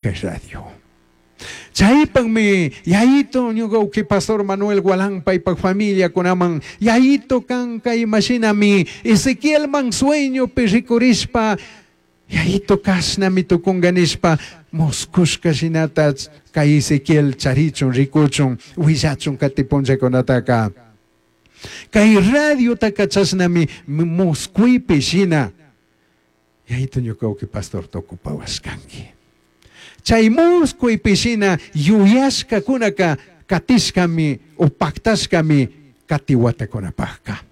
Kay radio. Chaypaqmi Yayito ñuqa uqi pastor Manuel Gualán paypaq familiakunaman Yayito kanka imashinami Ezequielman sueñopi rikurishpa Yayito kashnami tukunqa nishpa muskushka shinata kay Ezequiel charichun rikuchun willachun kati punllakunataka. Kay radiotaka chashnami muskuypi shina Yayito ñuka uqi pastor tukupawashkanki. Chay muskuypi shina yuyashkakunaka katishkami o paktashkami kati watakunapajka.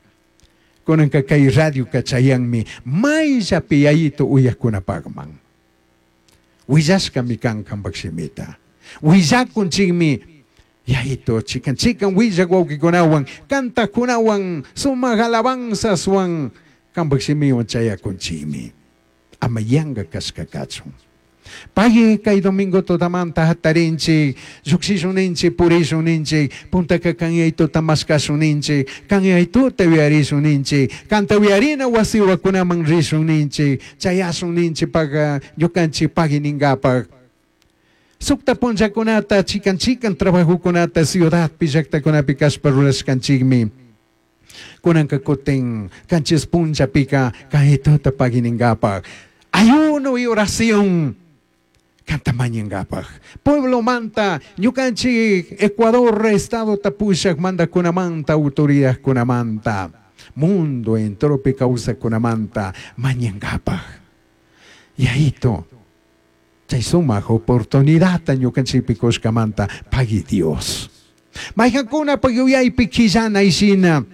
Kunanka kay radioka chayanmi mayllapi Yayito uyajkunapajman. Willashkami kan kanpak shimita. Willakunchikmi Yayito chikan chikan willak wawkikunawan, kantakkunawan, sumak alabanzaswan kanpak shimiwan chayakunchikmi. Ama yanka kashka kachun. Pagui kay domingo tutamanta hatarinchik, llukshishun ninchik, purishun ninchik, puntaka kan Yayituta mashkashun ninchik, kan Yayituta yuyarishun ninchik, kanta uyarina wasiwakunaman rishun ninchik, chayashun ninchik paga ñukanchik pagui ninkapak. Sukta punllakunata chikan chikan trabajokunata ciudadpi llaktakunapi kashpa rurashkanchikmi. Kunanka kutin kanchis punllapika kaytuta pagui ninkapak. Ayuno y oración kanta mañankapak. Pueblomanta ñukanchik Ecuador estado pushak mandakunamanta autoridadkunamanta mundo enteropi kawsakkunamanta mañankapak. Yayito chay sumak oportunidadta ñukanchikpi kushkamanta pagui Dios. Mayqankunapak yuyaypi quillanay shina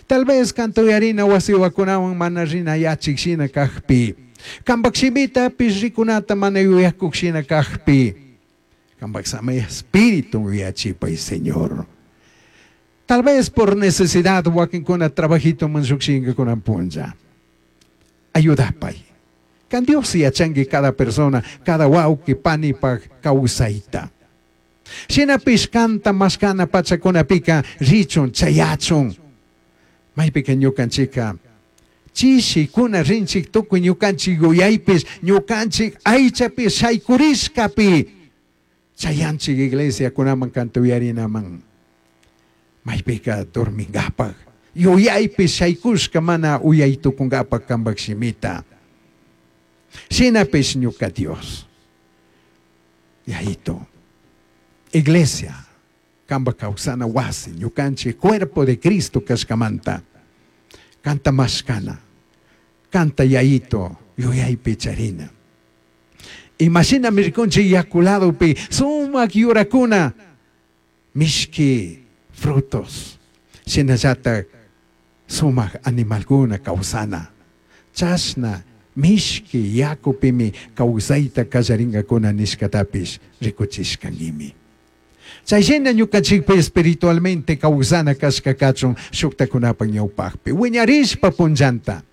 tal vez kanta uyarina wasiwakunawan mana rinayachik shina kajpi. Kanpak shimitapish rikunata mana yuyakuk shina kajpi. Kanpak samay espíritu yuyachipay Señor. Tal vez por necesidad wakinkuna trabajito man llukshinkakunan punlla. Ayudapay. Kan Dios yachanki cada persona, cada wawqi panipak kawsayta. Shinapish kanta mashkana pachakunapika richun chayachun. Maypika ñukanchika chishikuna rinchik tukuy ñukanchik yuyaypish ñukanchik aychapish shaykurishkapi chayanchik iglesiakunaman kanta uyarinaman. Maypika dormingapak yuyaypish shaykushka mana uyay tukungapak kanpak shimita. Shinapish ñuka Dios. Yayito. Iglesia, kanpak kawsana wasi, ñukanchik cuerpo de Cristo kashkamanta. Kanta mashkana, kanta Yayito, yuyaypi charina. Imashina rikunchik yaku ladopi sumak yurakuna, mishki frutos, shinallatak sumak animalkuna kawsana. Chashna mishki yakupimi kawsayta kallarinkakuna nishkatapish rikuchishkankimi. Chayshina ñukanchikpi espiritualmente kawsana kashka kachun shuktakunapak ñawpakpi. Wiñarishpa punllanta.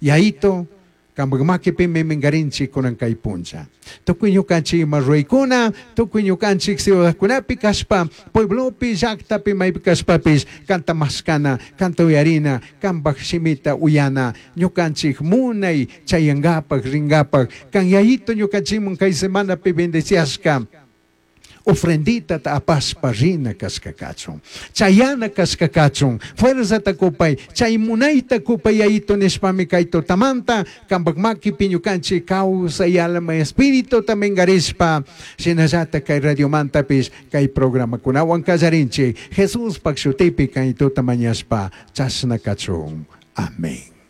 Yayito, kanpak makipimi minkarinchik kunan kay punlla. Tukuy ñukanchik ima ruraykuna, tukuy ñukanchik ciudadkunapi kashpa, pueblopi, llaktapi, maypi kashpapish, kanta mashkana, kanta uyarina, kanpak shimita uyana, ñukanchik munay chayankapak, rinkapak, kan Yayito ñukanchikman kay semanapi bendeciashka. Ofrendita ta apashpa rina kashka kachun, chayana kashka kachun, fuerzata kupay, chay munayta kupay Yayito nishpami kay tutamanta, kanpak makipi ñukanchik kawsay alma espíritu minkarishpa, shinallata kay radiomantapish kay programakunawan kallarinchik, Jesuspak shutipi kay tuta mañashpa chashna kachun. Amén.